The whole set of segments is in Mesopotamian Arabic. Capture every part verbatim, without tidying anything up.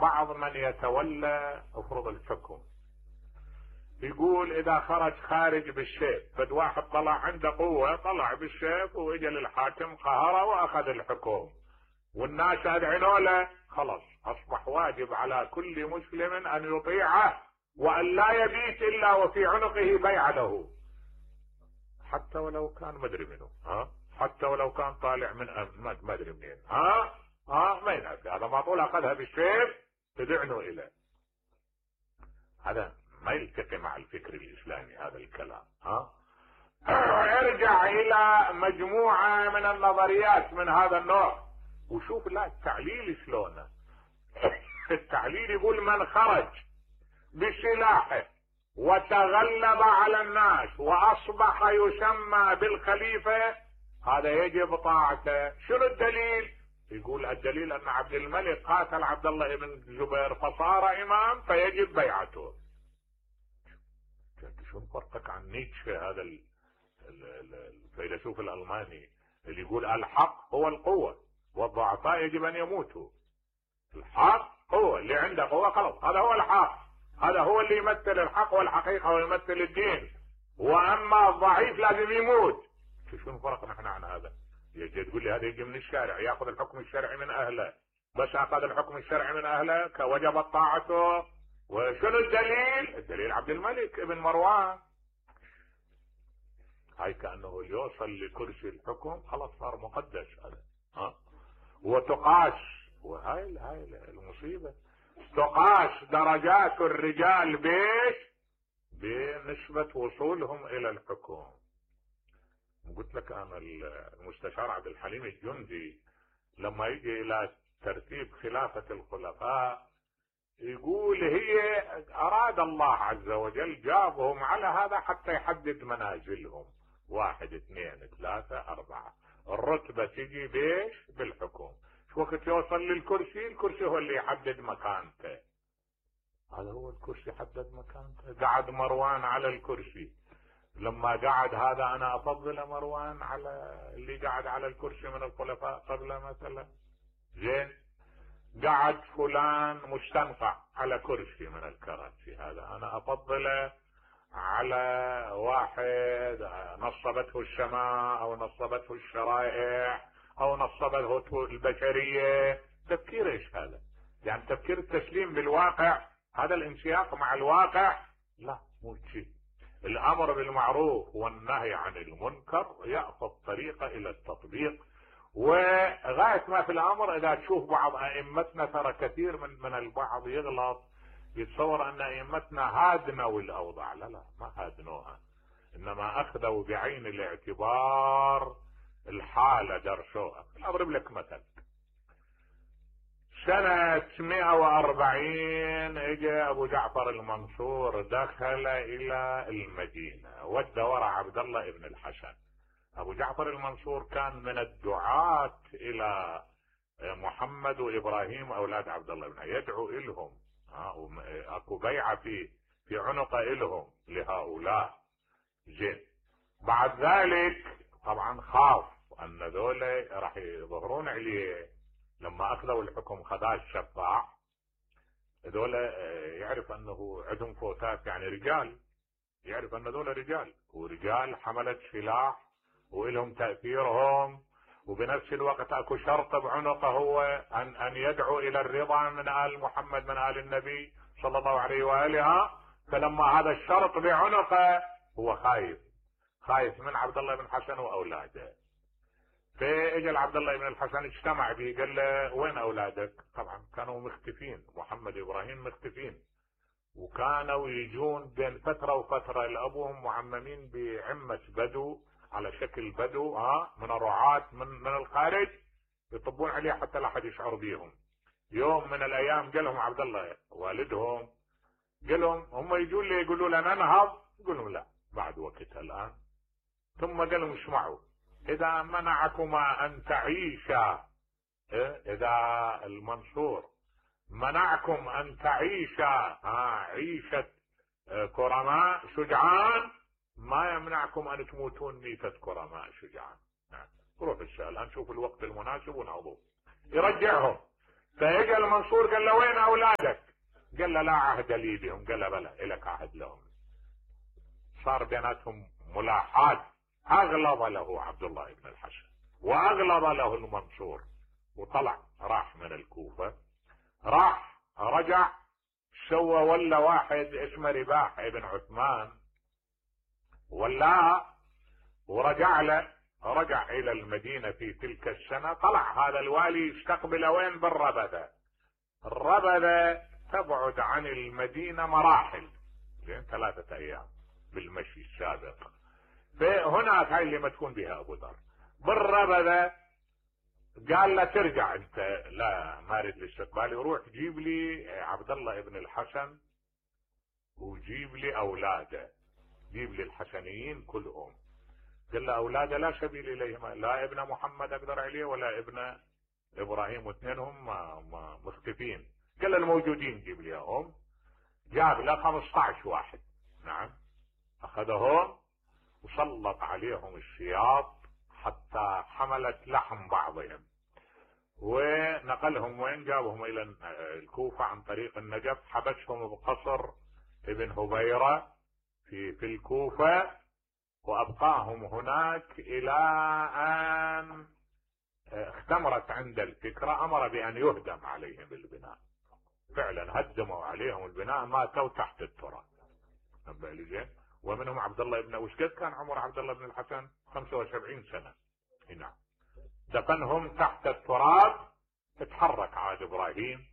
بعض من يتولى افرض الحكم، يقول اذا خرج خارج بالسيف، فد واحد طلع عنده قوة طلع بالسيف واجى للحاكم قهره واخذ الحكم والناس اذعنوا له، خلاص اصبح واجب على كل مسلم ان يطيعه وان لا يبيت الا وفي عنقه بيعة له، حتى ولو كان مدري منه، ها حتى ولو كان طالع من ما ادري منين، ها ها ما ينافي، هذا ما طول اخذها بالسيف تدعنوا اليه. هذا ما يلتقي مع الفكر الاسلامي هذا الكلام. ها ارجع الى مجموعة من النظريات من هذا النوع وشوف لا التعليل شلونه. التعليل يقول من خرج بسلاحه وتغلب على الناس واصبح يسمى بالخليفة هذا يجب طاعته. شنو الدليل؟ يقول الدليل ان عبد الملك قاتل عبد الله بن الزبير فصار امام فيجب بيعته. شنو فرقك عن نيتشه هذا الفيلسوف الالماني اللي يقول الحق هو القوة والضعفاء يجب ان يموتوا. الحق هو اللي عنده قوة خلاص هذا هو الحق، هذا هو اللي يمثل الحق والحقيقة ويمثل الدين، واما الضعيف لازم يموت. شنو فرق نحن عن هذا؟ يجي تقول لي هذا يجي من الشارع ياخذ الحكم الشرعي من اهله، بس اخذ الحكم الشرعي من اهله كوجبت طاعته. وشنو الدليل؟ الدليل عبد الملك ابن مروان. هاي كأنه يوصل لكرسي الحكم خلاص صار مقدس هذا. ها وتقاس، وهاي هاي المصيبة، تقاس درجات الرجال بيش بنسبة وصولهم الى الحكم. قلت لك انا المستشار عبد الحليم الجندي لما يجي الى ترتيب خلافة الخلفاء يقول هي اراد الله عز وجل جابهم على هذا حتى يحدد منازلهم، واحد اثنين ثلاثة اربعة، الرتبة تجي بيش بالحكم. شو وقت يوصل للكرسي الكرسي هو اللي يحدد مكانته، هذا هو الكرسي حدد مكانته. قعد مروان على الكرسي، لما قعد هذا انا افضل مروان على اللي قعد على الكرسي من الخلفاء قبل مثلا. زين قعد فلان مستنقع على كرسي من الكراسي، هذا انا افضله على واحد نصبته السماء او نصبته الشرائع او نصبته البشرية. تفكير ايش هذا؟ يعني تفكير التسليم بالواقع، هذا الانسياق مع الواقع لا مو شيء. الامر بالمعروف والنهي عن المنكر يأخذ طريقة الى التطبيق. وغاية ما في الامر اذا تشوف بعض ائمتنا ترى كثير من من البعض يغلط يتصور ان ائمتنا هادنوا الاوضاع، لا لا ما هادنوها، انما اخذوا بعين الاعتبار الحالة درسوها. اضرب لك مثل، سنة مئة واربعين اجى ابو جعفر المنصور دخل الى المدينة ودى وراء عبد الله ابن الحسن. ابو جعفر المنصور كان من الدعاة الى محمد وابراهيم اولاد عبد الله بن يدعو الهم، اكو بيعة في في عنق الهم لهؤلاء. زين بعد ذلك طبعا خاف ان ذولا راح يظهرون عليه، لما اخذوا الحكم خذاه الشفاع، ذولا يعرف انه عندهم فوتات يعني رجال، يعرف ان ذولا رجال ورجال حملت سلاح وإلهم تأثيرهم، وبنفس الوقت اكو شرط بعنقه هو ان ان يدعو الى الرضا من آل محمد من آل النبي صلى الله عليه وآله. فلما هذا الشرط بعنقه هو خايف خايف من عبد الله بن حسن واولاده. فاجى عبد الله بن الحسن اجتمع به قال له وين اولادك؟ طبعا كانوا مختفين، محمد وابراهيم مختفين، وكانوا يجون بين فترة وفترة لابوهم معممين بعمة بدو على شكل بدو ها من الرعاة من من الخارج يطبون عليه حتى لا احد يشعر بيهم. يوم من الايام قالهم عبد الله والدهم قالهم هم يجون لي يقولوا لنا ننهض، يقولوا لا بعد وقتها الان. ثم قالهم اسمعوا اذا منعكما ان تعيشا، اذا المنصور منعكم ان تعيشا عيشة كرماء شجعان ما يمنعكم ان تموتون ميتة كرماء شجعان. روح السؤال الان شوف الوقت المناسب ونعوضه يرجعهم. فاجى المنصور قال له وين اولادك؟ قال لا عهد لي بهم. قال له بلى إلك عهد لهم. صار بيناتهم ملاحات. اغلظ له عبد الله بن الحسن واغلظ له المنصور، وطلع راح من الكوفة، راح رجع سوى ولا واحد اسمه رباح ابن عثمان ولا، ورجع له، رجع الى المدينة في تلك السنة. طلع هذا الوالي يستقبل وين؟ بالربذة. الربذة تبعد عن المدينة مراحل، زين ثلاثة ايام بالمشي السابق. فهناك هاي اللي ما تكون بها ابو ذر. بالربذة قال له ترجع انت، لا ما اريد الاستقبال، روح جيب لي عبد الله ابن الحسن وجيب لي اولاده، جيب لي الحسنيين كلهم. قال له اولاده لا سبيل اليهما، لا ابن محمد اقدر عليه ولا ابن ابراهيم، واثنينهم مختفين. قال له الموجودين جيب لي اياهم. جاب له خمسة عشر واحد، نعم، اخذهم وسلط عليهم السياط حتى حملت لحم بعضهم، ونقلهم وين؟ جابهم الى الكوفة عن طريق النجف. حبسهم بقصر ابن هبيرة في في الكوفة، وابقاهم هناك الى ان اختمرت عند الفكرة. امر بان يهدم عليهم البناء، فعلا هدموا عليهم البناء، ماتوا تحت التراب. ومنهم عبد الله بن، وش قد كان عمر عبد الله بن الحسن؟ خمسة وسبعين سنة. نعم، دفنهم تحت التراب. اتحرك عاد ابراهيم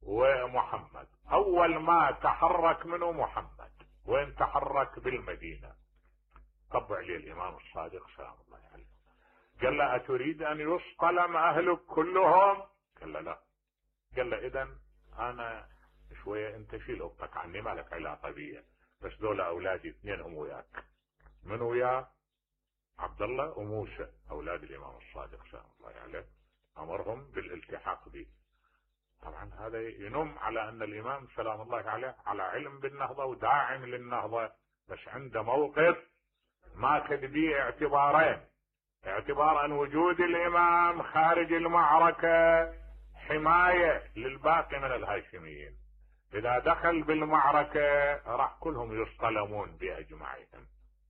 ومحمد. اول ما تحرك منه محمد، وين تحرك؟ بالمدينة. طبع لي الامام الصادق سلام الله عليه، قال له اتريد ان يصطلم اهلك كلهم؟ قال له لا. قال له اذا انا شوية انت شيل اختك عني، مالك علاقة بي، بس دول اولادي اثنينهم وياك. من وياه؟ عبد الله وموسى، اولاد الامام الصادق سلام الله عليه، امرهم بالالتحاق به. طبعا هذا ينم على ان الامام سلام الله عليه على علم بالنهضة وداعم للنهضة، بس عنده موقف ماخذ به اعتبارين. اعتبار ان وجود الامام خارج المعركة حماية للباقي من الهاشميين، اذا دخل بالمعركة راح كلهم يصطلمون باجمعهم.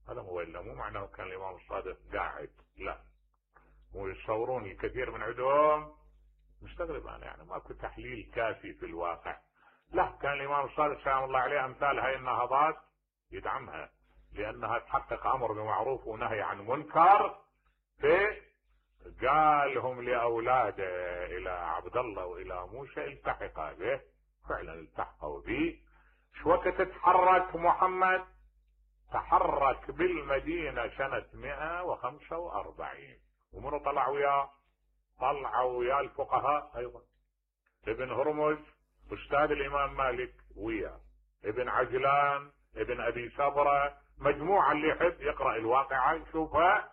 هذا هو، الا مو معناه كان الامام الصادق قاعد، لا، مو يتصورون الكثير من عندهم. مستغرب انا يعني ماكو تحليل كافي في الواقع. لا، كان الامام الصادق سلام الله عليه امثال هاي النهضات يدعمها، لانها تحقق امر بمعروف ونهي عن منكر. في قالهم لاولاده الى عبد الله والى موسى التحقا به، فعلا التحقوا به. شو وقت تحرك محمد؟ تحرك بالمدينة سنة مئة وخمسة واربعين. ومنو طلع وياه؟ طلعوا وياه الفقهاء ايضا. ابن هرمز استاذ الامام مالك وياه، ابن عجلان، ابن ابي سبرة، مجموعة اللي يحب يقرأ الواقعة يشوفها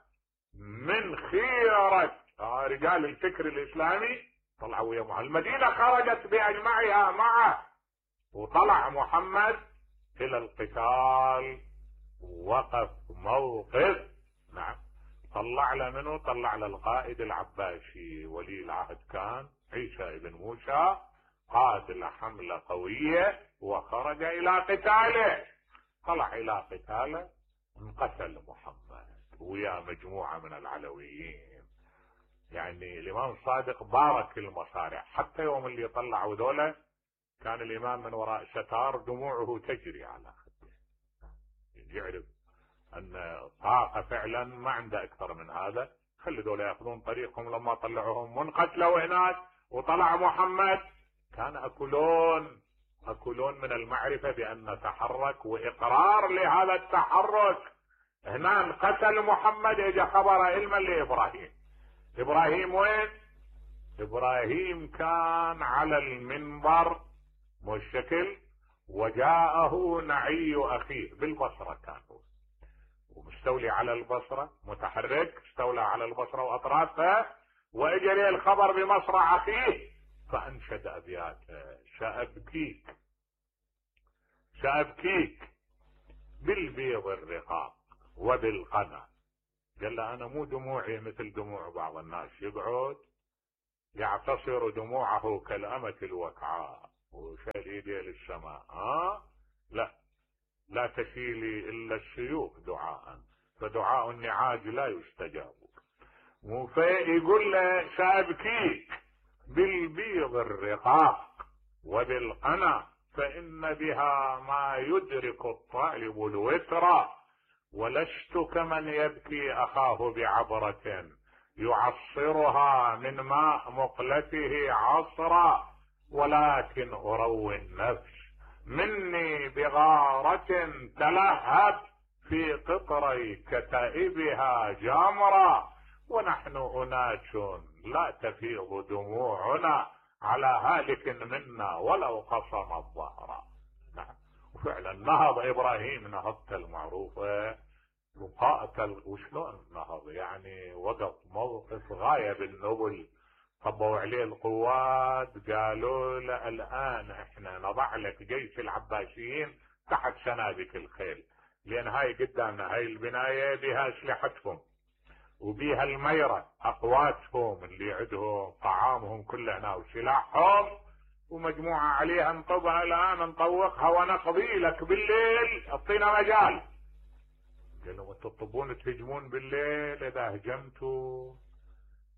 من خيرة رجال الفكر الاسلامي. طلعوا وياه مع المدينة، خرجت باجمعها معه، وطلع محمد الى القتال، وقف موقف. نعم، طلع له منه؟ طلع له القائد العباسي ولي العهد كان عيسى بن موسى، قاد له حملة قوية وخرج الى قتاله. طلع الى قتاله، انقتل محمد ويا مجموعة من العلويين. يعني الامام الصادق بارك المصارع، حتى يوم اللي طلعوا ذولا كان الامام من وراء ستار دموعه تجري على خده، يعرف ان طاقة فعلا ما عنده اكثر من هذا. خلي ذولا ياخذون طريقهم. لما طلعوهم منقتلوا هناك وطلع محمد، كان اكلون اكلون من المعرفة بان تحرك واقرار لهذا التحرك. هنا قتل محمد، اجى خبر علما لابراهيم. ابراهيم وين؟ ابراهيم كان على المنبر مشكل، وجاءه نعي اخيه بالبصرة، كان هو ومستولي على البصرة، متحرك، استولى على البصرة واطرافها، واجري الخبر بمصرع اخيه، فانشد ابيات: سأبكيك سأبكيك بالبيض الرقاق وبالقنا. قال له انا مو دموعي مثل دموع بعض الناس، يقعد يعتصر دموعه كالأمة الوكعاء، وشال ايديه للسماء. ها لا لا تشيلي الا الشيوخ دعاء، فدعاء النعاج لا يستجاب. فيقول له سأبكيك بالبيض الرقاق وبالقنا، فإن بها ما يدرك الطالب الوتر، ولست كمن يبكي أخاه بعبرة يعصرها من ماء مقلته عصرا، ولكن أروي النفس مني بغارة تلهب في قطري كتائبها جامرا، ونحن أناس لا تفيض دموعنا على هالك منا ولو قصم الظهر. نعم. وفعلا نهض إبراهيم نهضته المعروفة وقاتل. وشلون نهض؟ يعني وقف موقف غاية بالنبل. طبوا عليه القوات، قالوا له الآن احنا نضع لك جيش العباسيين تحت سنابك الخيل، لأن هاي قدامنا، هاي البناية بها أسلحتهم وبيها الميرة أقواتهم اللي عندهم طعامهم كله هنا وسلاحهم، ومجموعة عليها نطبها الآن نطوقها ونقضي لك بالليل، اعطينا مجال. قالوا تطبون تهجمون بالليل؟ إذا هجمتوا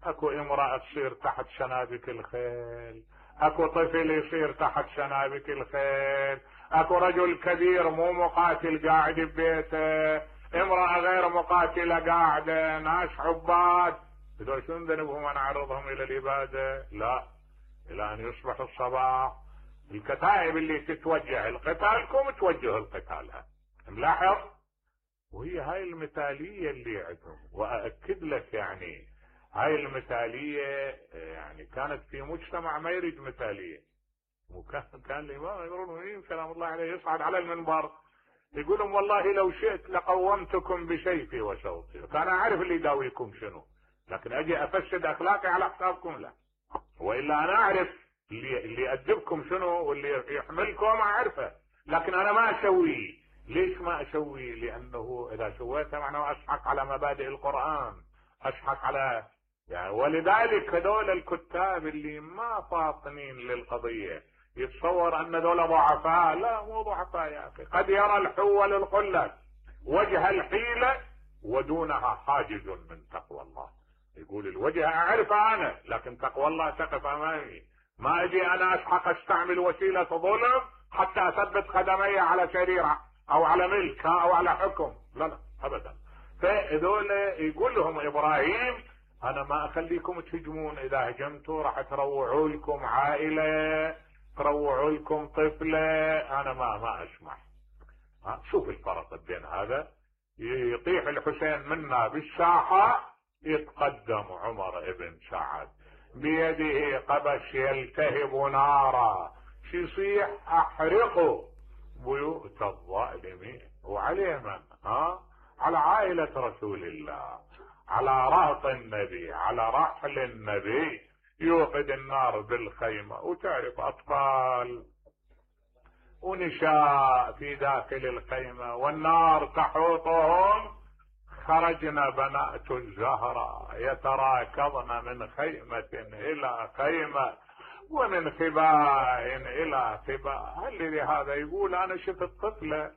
اكو امرأة تصير تحت شنابك الخيل، اكو طفل يصير تحت شنابك الخيل، اكو رجل كبير مو مقاتل قاعد ببيته، امرأة غير مقاتلة قاعدة، ناس عباد، هذول شنو ذنبهم انا اعرضهم الى الابادة؟ لا، الى ان يصبح الصباح الكتائب اللي تتوجه لقتالكم توجه لقتالها. ملاحظ؟ وهي هاي المثالية اللي عندهم. واكد لك يعني هاي المثالية يعني كانت في مجتمع ما يريد مثالية. وكان كان الامام امير المؤمنين سلام الله عليه يصعد على المنبر يقول لهم والله لو شئت لقومتكم بسيفي وشوطي، فانا اعرف اللي يداويكم شنو، لكن اجي افسد اخلاقي على حسابكم لا، والا انا اعرف اللي اللي يأدبكم شنو واللي يحملكم اعرفه، لكن انا ما اسويه. ليش ما اسويه؟ لانه اذا سويته معناه اشحق على مبادئ القرآن، اشحق على يعني. ولذلك هذول الكتاب اللي ما فاطنين للقضية يتصور ان ذولا ضعفاء. لا، مو ضعفاء يا اخي. قد يرى الحول القلة وجه الحيلة ودونها حاجز من تقوى الله. يقول الوجه اعرفه انا، لكن تقوى الله تقف امامي. ما اجي انا اشحق استعمل وسيلة ظلم حتى اثبت قدمي على شريعة او على ملك او على حكم. لا لا ابدا. فهذول يقول لهم ابراهيم انا ما اخليكم تهجمون، اذا هجمتوا راح تروعوا لكم عائلة، تروعوا لكم طفلة، انا ما ما اسمح. ها شوف الفرق بين هذا. يطيح الحسين منا بالساحة، يتقدم عمر ابن سعد بيده قبس يلتهب نارا، يصيح احرقوا بيوت الظالمين. وعليه من؟ ها على عائلة رسول الله، على رهط النبي، على رحل النبي، يوقد النار بالخيمة. وتعرف اطفال ونساء في داخل الخيمة والنار تحوطهم. خرجنا بنات الزهراء يتراكضن من خيمة الى خيمة ومن خباء الى خباء. هل لهذا يقول انا شفت طفلة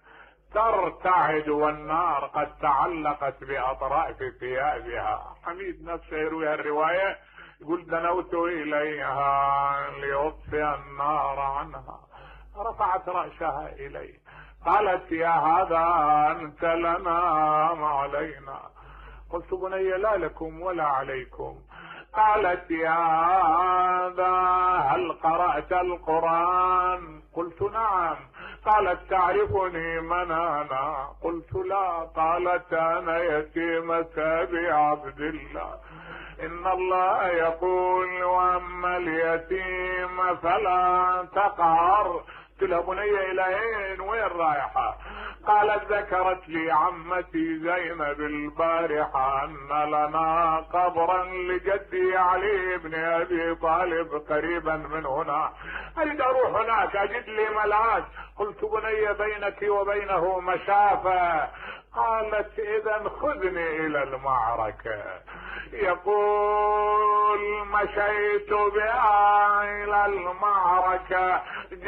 ترتعد والنار قد تعلقت باطراف ثيابها. حميد نفسه يروي الرواية يقول دنوت اليها ليطفئ النار عنها، رفعت رأسها الي قالت يا هذا انت لنا ما علينا. قلت بني لا لكم ولا عليكم. قالت يا هذا هل قرأت القرآن؟ قلت نعم. قالت تعرفني من انا؟ قلت لا. قالت انا يتيمة ابي عبد الله، ان الله يقول واما اليتيم فلا تقهر. قلت لها بني الى اين؟ وين رايحة؟ قالت ذكرت لي عمتي زينب البارحة ان لنا قبرا لجدي علي بن ابي طالب قريبا من هنا، اريد اروح هناك اجد لي ملاذ. قلت بني بينك وبينه مسافة. قالت اذا خذني الى المعركة. يقول مشيت بها الى المعركة